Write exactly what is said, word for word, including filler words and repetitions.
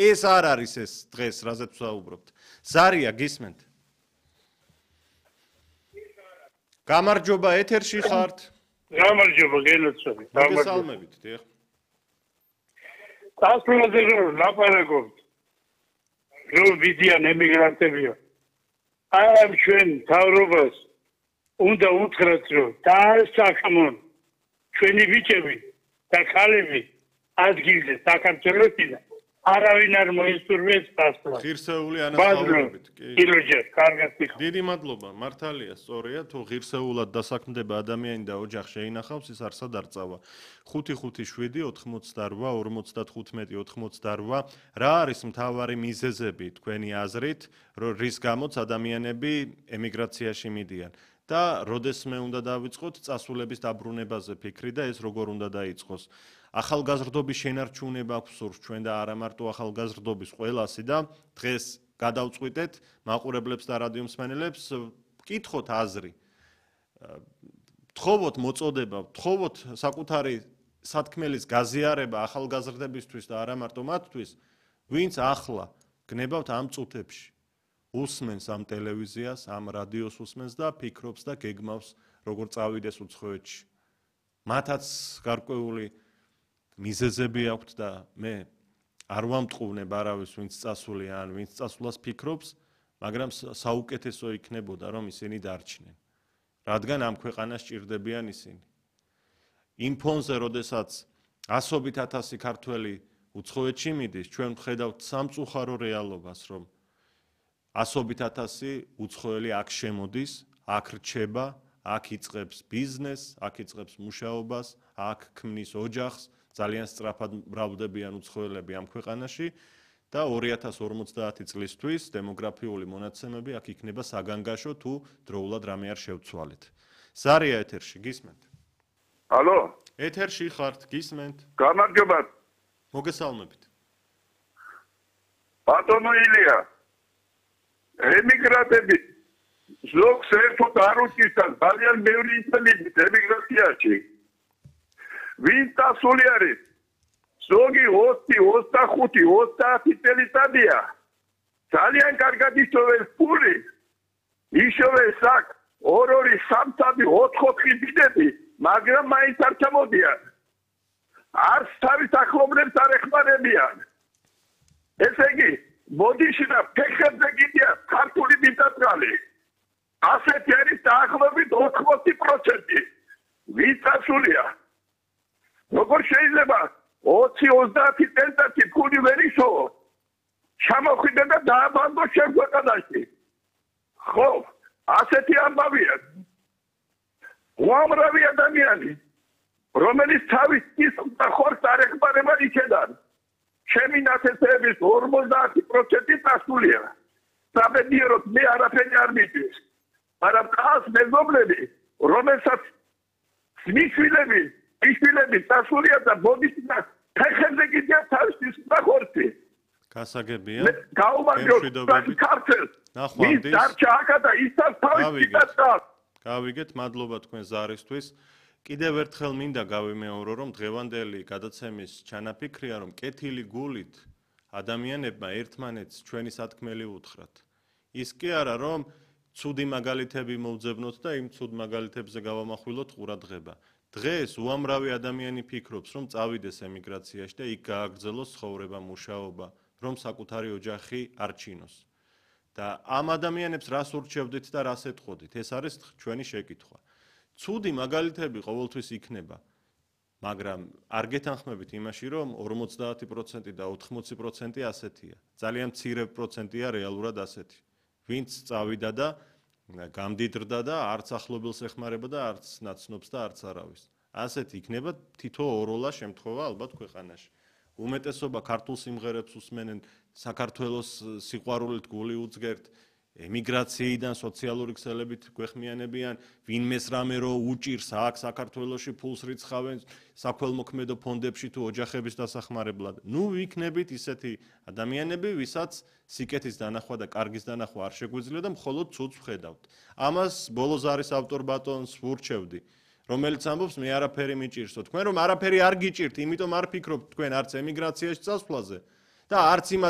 ეს არ არის ეს დღეს, რაზეც ვსაუბრობთ. ზარია, გისმენთ? გამარჯობა, ეთერში ხართ? გამარჯობა, გენოცოდი. მოგესალმებით, დიახ. დასრულზე რომ ლაპარაკობთ. რომ ვიდიან ემიგრანტებია. ამ ჩვენ თავრობას უნდა უთხრათ, რომ დაასახმონ ჩვენი ბიჭები და ქალები ადგილზე საქართველოსიდან არავინ არ მოისურვებს დასვლა. ღირსეული ანასწავლებით. კილოჯერ, კარგად ვიხარ. დიდი მადლობა, მართალია, სწორია, თუ ღირსეულად დასაქმდება ადამიანი და ოჯახ შეინახავს, ის არსად არ წავა. ხუთი ხუთი შვიდი ოთხმოცდარვა ორმოცდათხუთმეტი ოთხმოცდარვა რა არის მთავარი მიზეზები თქვენი აზრით, რის გამოც ადამიანები ემიგრაციაში მიდიან? და როდესმე უნდა დავიწყოთ წასულების დაბრუნებაზე ფიქრი და ეს როგორ უნდა დაიწყოს? ახალგაზრდობის შენარჩუნება აქვს სურს ჩვენ და არა მარტო ახალგაზრდობის ყველასი და დღეს გადავწყვიტეთ მაყურებლებს და რადიო მსმენელებს ვკითხოთ აზრი. ვთხოვოთ მოწოდება, ვთხოვოთ საკუთარი სათქმელის გაზიარება ახალგაზრდებისთვის და არა მარტო მათთვის, ვინც ახლა გნებავთ ამ წუთებში. უსმენს ამ ტელევიზიას, ამ რადიოს უსმენს და ფიქრობს და გეგმავს როგორ წავიდეს უცხოეთში. მათაც გარკვეული მიზეზები აქვთ და მე არ ვამტყუნებ არავის ვინც წასულია ან ვინც წასვლას ფიქრობს, მაგრამ საუკეთესო იქნებოდა რომ ისინი დარჩნენ. რადგან ამ ქვეყანას ჭირდებიან ისინი. იმ ფონზე, როდესაც ასობით ათასი ქართველი უცხოეთში მიდის, ჩვენ ვხედავთ სამწუხარო რეალობას, რომ ასობით ათასი უცხოელი აქ შემოდის, აქ რჩება, აქ იწყებს ბიზნესს, აქ იწყებს მუშაობას, აქ ქმნის ოჯახს, ძალიან სწრაფად მრავლდებიან უცხოელები ამ ქვეყანაში და ორი ათას ორმოცდაათი წლისთვის დემოგრაფიული მონაცემები აქ იქნება საგანგაშო თუ დროულად რამე არ შევცვალეთ. ზარია ეთერში, გისმენთ? ალო? ეთერში ხართ, გისმენთ? გამარჯობა. მოგესალმებით. ბატონო ილია, ემიგრანტები ზოგს ერთად არ უჭირთან ძალიან ბევრი ინტელიგენტი ემიგრაციაში. ვინ დასული არის? ზოგი ოცი, ოცდახუთი, ოცდაათი წელიწადია. ძალიან კარგად ისოვეს ფული. ისოვეს აქ ორ-ორი, სამ-სამი, ოთხ-ოთხი ბიძები, მაგრამ მაინც არ ჩამოდიან. არც თავის ახლობლებს არ ეხმარებიან. ესე იგი, მოდიში და ფეხებზე გიდიან ქართული მიწათმრალი. ასეთი არის დაახლოებით ოთხმოცი პროცენტი. ვინ დასულია? როგორ შეიძლება ოცი ოცდაათი წელიწადში ფული ვერ ისოვოს? ჩამოხვიდე და დააბანდო შენ ქვეყანაში. ხო, ასეთი ამბავია. უამრავი ადამიანი, რომელიც თავის კისრს და ხორცს არ ეხმარება იქედან. ჩემი ნათესების ორმოცდაათი პროცენტი დასულია. საბედიეროდ მე არაფერი არ მიდის. მაგრამ ხალხს მეზობლები, რომელსაც მისვილები ისილები დასულია და ბოდიში და ფეხებზე გიდიან თავის კისრს და ხორცი. გასაგებია. გაუმარჯოთ ქართლს. ის დარჩა აქა და ისაც თავის კისრს. გავიგეთ, მადლობა თქვენ ზარისთვის. კიდევ ერთხელ მინდა გავიმეორო, რომ დღევანდელი გადაცემის ჩანაფიქრია, რომ კეთილი გულით ადამიანებმა ერთმანეთს ჩვენი სათქმელი უთხრათ. ის კი არა, რომ ცუდი მაგალითები მოვძებნოთ და იმ ცუდ მაგალითებზე გავამახვილოთ ყურადღება. დღეს უამრავი ადამიანი ფიქრობს, რომ წავიდეს ემიგრაციაში და იქ გააგრძელოს ცხოვრება, მუშაობა, რომ საკუთარი ოჯახი არჩინოს. და ამ ადამიანებს რას ურჩევდით და რას ეტყოდით? ეს არის ჩვენი შეკითხვა. ცუდი მაგალითები ყოველთვის იქნება, მაგრამ არ გეთანხმებით იმაში, რომ ორმოცდაათი პროცენტი და ოთხმოცი პროცენტი ასეთია. ძალიან მცირე პროცენტია რეალურად ასეთი. ვინც წავიდა და გამდიდრდა და არც ახლობელს ეხმარება და არც ნაცნობს და არც არავის. ასეთი იქნება თითო ოროლა შემთხვევა ალბათ ქვეყანაში. უმეტესობა ქართულ სიმღერებს უსმენენ, საქართველოს სიყვარულით გული უძგერთ, ემიგრაციიდან სოციალური ქსელებით გვეხმიანებიან, ვინმეს რამე რო უჭირს აქ საქართველოში ფულს რიცხავენ საქველმოქმედო ფონდებში თუ ოჯახების დასახმარებლად. ნუ ვიქნებით ისეთი ადამიანები, ვისაც სიკეთის დანახვა და კარგის დანახვა არ შეგვიძლია და მხოლოდ ცუდს ვხედავთ. ამას ბოლოს არის ავტორ ბატონს ვურჩევდი, რომელიც ამბობს მე არაფერი მიჭირსო. თქვენ რომ არაფერი არ გიჭირთ, იმიტომ არ ფიქრობთ თქვენ არც ემიგრაციაში წასვლაზე და არც იმ